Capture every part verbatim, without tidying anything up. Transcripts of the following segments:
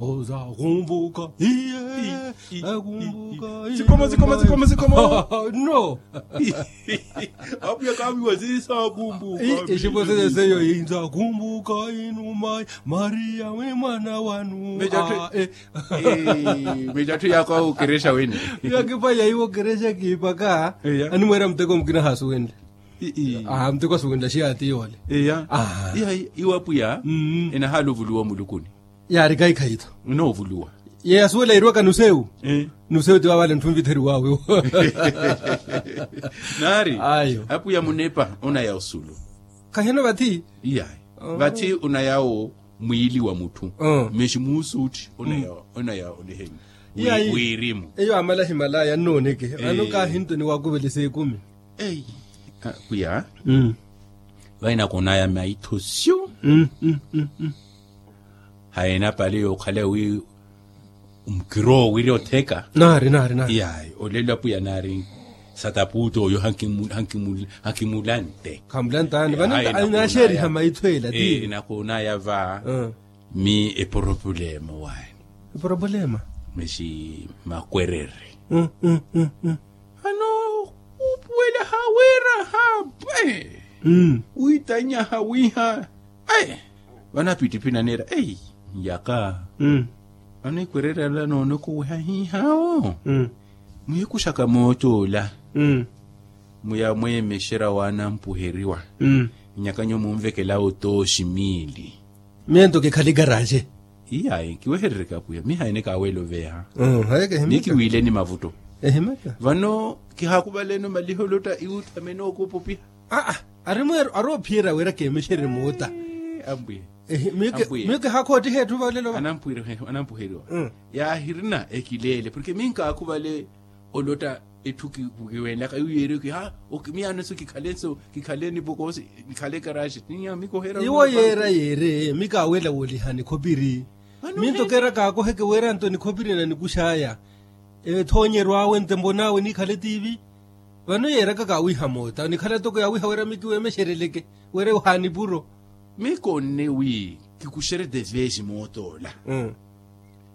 Ozakumbuka iye. Akumbuka. Sikoma sikoma sikoma sikoma. No. Apwiya kaviwa zisakumbuka. Ixipwesele seyo inzakumbuka inuma. Mariya wi mwana wanu. Mejatthu yako awo kerexa wene. Yakipa yaiwo kerexa kipaka. Animwera muteko mukina hasuwenle. Muteko asuwenle xiya ati yole. Iya. Iwa apwiya enahala ovuluwa mulukuni. Yaari kayi khayi-tho. Inoovuluwa. Yeya suwela yiriwaka nusewu. Nusewu ti wavale nthu nvitheriwawe. Naari. Apwiya munepa onaya osulu. Khahino vathi. Iyayi. Vathi onaya wo mwiili wa mutthu. Mexi muusuutti onaya oniheni. Iyayi. Wirimu. Eyo amala himalaya nnooneke vano kahinto ni wakuvelesa ekumi. Eyi. Apwiya. Vainaka onaya maitho syu. Haena pale yookhala wi mukiroowo wiri otheka. Naari naari naari. Yayi olelo apwiya naari. Satapuuto oyo hankimulante. Khamulantani vano. Naxeeriha maitho ela ti nakoonaya va. Mi eporopulema wayi. Eporopulema. Mexi makwerere. Vano khuupuwela hawira hapwe. Wiitanyaha wiiha. Vano apittiphi naneera eyi. Nyaka. Vano ekwererela noonoko wiha hiihaawo. Muhikuxaka mootoola. Muya mweemexera waanampuheriwa. Nyaka nyuwo munvekelawo tooxi miili. Miyo nto kikhale ikaraxe. Iyayi kiweherereke apwiya mihaene kaaweela oveeha. Mikiwiileni mavutto. Vano kihaakuvaleeni omaliha olotta iwutthamene ookuupupiha. Aa. Ari mweeru ari ophiyerya wira keemexerye moota. Ambuye. Miyo kihaakhoottiha etthu valelo va. Anampuheriwa. Yaahirina ekileele porke miyo nkaakhuvale olotta etthu kiwenlaka iwo yeeriwe kiha. Miyo aneso kikhale nso kikhale nipokoosi. Kikhale ekaraxi. Iwo yeera yeere mi kaawela woolihani khopiri. Minto keera kaakoheke weera nto nikhopiri nanikux'aya. Ethoonyeryo awe ntembo n'awe nikhale tiivi. Vano yeeraka kaawiiha moota nikhala toko yaawiiha wira mikiweemexereleke wira ehaani puro. Mikonne wi kikuxerye tevesi mootoola.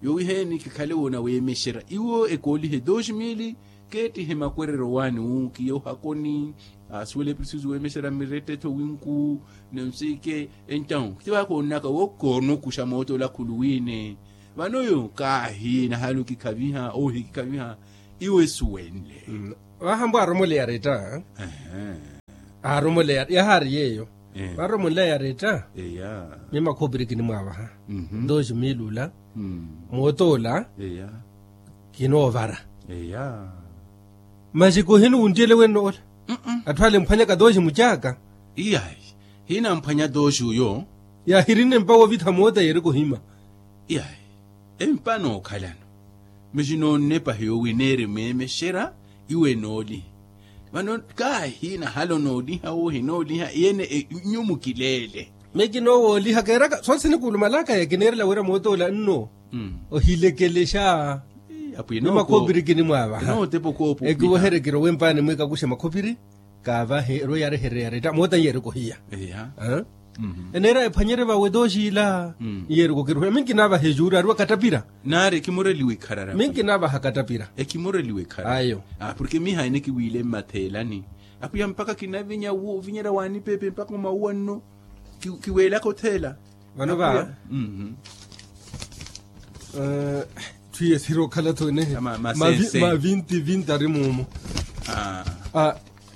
Yowiheeni kikhale woonaweemexerya iwo ekoolihe dos mili. Keettihe makwereryo waani wu kiya ohakoni. Asuwela epirisisi weemexerya mirettetho winku. Nonsike. Entawu ti vaakoonnaka wo koonokuxa mootoola khuluwiine. Vano yo kaahi nahalu kikhaviha ohi kikhaviha. Iwe suwenle. Vahambo aromoleya retta. Aromoleya yahaari yeeyo. Varomoleya retta. Miyo makhopiri kinimwaavaha. Dos mil ula mootoola. Kinoovara. Masi kohini wunttiyele wenno ola. Atthu ale emphwanyaka dos mucaaka. Iyayi. Hina amphwanya dos uyo. Yaahirinne mpa woovitha moota yeereke ohima. Iyayi. Empa nookhalano. Masi noonnepa hiyo wi neeri mweemexerya iwe nooliha. Vano kaahi nahalo nooliha wohi nooliha iyene. Nyuwo mukileele. Miyo kinoowooliha keeraka soosi sinikuulumalaka ya kineerela wira mootoola nno. Ohilekelexa. Ni makhopiri kinimwaavaha. Ekiweherye kirowe mpaani mwikakuxe makhopiri. Kaavahe erwe yaarehererya yaretta moota nyeereke ohiya. Eneera ephwanyerye vawe tooxiila. Nyeereke okiruhela minki naavaha ejuuri ariwa kattapira. Naari ekimureliwa ikharara minki naavaha kattapira. Ekimureliwa ikharara. Ayo. Porke miha ene kiwiile mmatheelani. Apwiya mpakha kinavinya ovinyerya waanipepe mpakha omauwa nno. Kiweelaka otheela. Vano va twiye siri okhala-tho enehe. Ma vinti vinti ari muumo.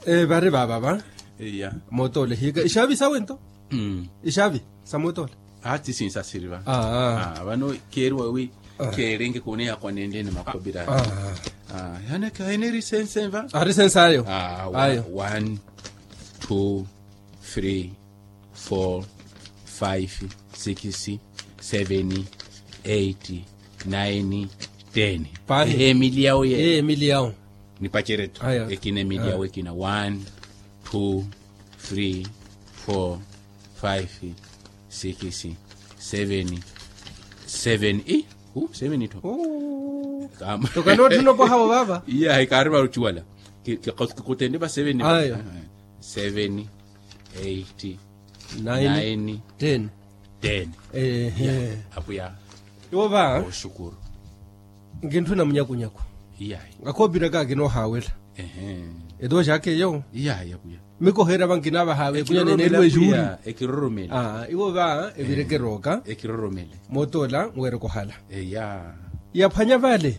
Vari vaava va. Mootoola ehiyaka ixaavi sawe nto. Ixaavi sa mootoola. Ati sinsasiri va. Vano keeriwa wi keerenke kuneya kwanenlene makhopira. Yanaka eneri sense va. Ari sense ayo. Ayo. One, two, three, four, five, six, seven, eight, nine, ten. Ehe emili yawo ye. Emili yawo. Nipacerye-tho. Ekina emili yawo ekina one, two, three, four, five, six, seven, seven i. Seven itho. Toka nootthuna opwaha wo vaava. Iyahi kaari varucuwala. Kikutende va seven. Seven, eight, nine, ten. Ten. Apwiya. Iwo va. Nkintthu na munyakunyaku. Akhoopiraka akinoohaawela. Eto xakeyo. Mikoheera va nkinaavaha vekunya neneeriwa exuuri. Iwo va evireke erooka. Mootoola nweereke ohala. Yaphwanya vale.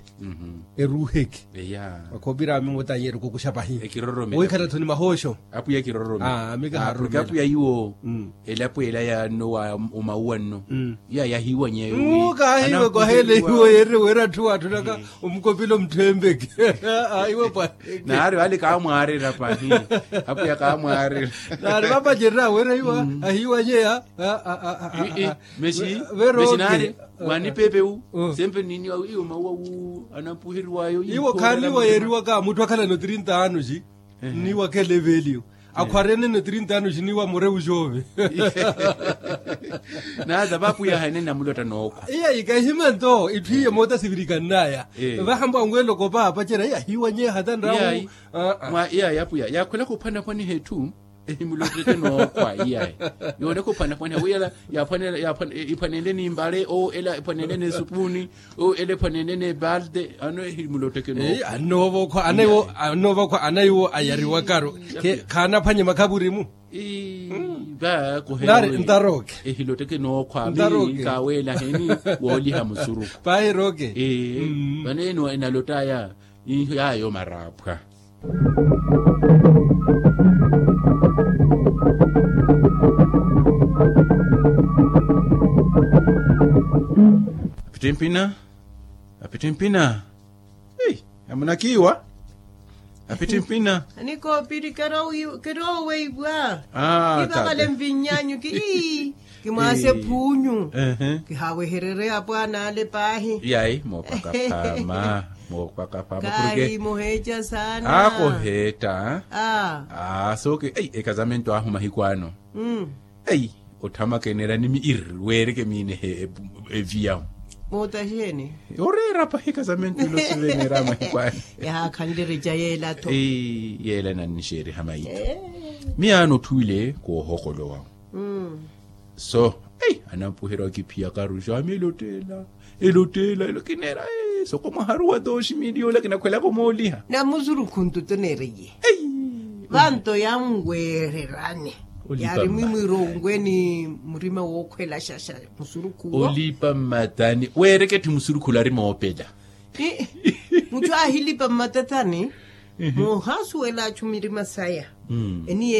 Eruuheke. Akhoopira ami moota anyeereke okuxa pahi. Wiikhala-tho ni mahooxo. Apuya kiroromela. Mika haaroromela. Apuya iwo. Elapo ela ya nno wa omauwa nno. Iya yahiiwanyeya wi. Kaahiiwe kwaheela iwo yeerire wira atthu waatthunaka omukopila omutthempeke. Iwe pwa. Naari vale kaamwaarira pahi. Apuya kaamwaarira. Naari vapacererya wira iwa ahiiwanyeya. Mexi naari wanipepe wu. Sempe niniwa iyo mauwa wu anampuheriwayo. Iwo khaaniwa yeeriwaka mutthu akhalano trinta anos. Nniiwa khelevelio. Akhwarenene trinta anos nniiwa mureu xoove. Naata vapuya hene namulotta nookhwa. Iya ikahima nto itthu iye moota sivirikannaya. Vahambo anweeloko paapacerya iya hiiwanyeya hata nrawu. Iya yapuya yaakhwelaka ophwanaphwaniha etthu. Ehimulotteke nookhwa iyayi. Yooneka ophwanaphwaniha wiyala. Iphwanenle ni mbale oo ela iphwanenle ni supuuni. Oo ela iphwanenle ni ebalde ano ehimulotteke nookhwa. Annoova okhwa ana iwo ayariwakaru. Khaanaphwanye makhavurimu. Ntaroke. Ehilotteke nookhwa ami nkaaweelaheni wooliha musuruku. Pahi roke. Vano eno enalottaya. Iho yaayo maraaphwa. Apittimpina. Apittimpina. Ei, amunakiiwa. Apittimpina. Anikoopiri kerooweipwa. Kivakale mvinyanyu ki. Kimwaase phuunyu. Kihaawehererye apwaana ale paahi. Yayi mookwaka phama. Mookwaka phama. Kaahi muheeca saana. Akoheetta. Aa sooke ei ekazamento ahu mahiku ano. Ei otthamaka eneera nimi irri weereke miinehe. Eviyahu. Moota xeeni. Oreera pahi ekazamento ilo siveneera mahiku ano. Yahaakhanle ereca yeela-tho. Yeela enannixeeriha maitho. Miyaano otthuwile koohokolowa. So ei anampuherya okiphiyaka ruxo ami elottela. Elottela elo kineera. Soko mwaharuwa tooxi miili yoola kinakhwelaka omooliha. Na musurukhu nto toneereye. Vanto yanweererani. Yaari mwimwiira onwe ni murima wookhwelaxaxa. Musurukhu wo olipa mmatani weereke tthi musurukhu ola ari moopela. Mutthu aahilipa mmatathani. Moohasuwela achu mirima saya. Eniye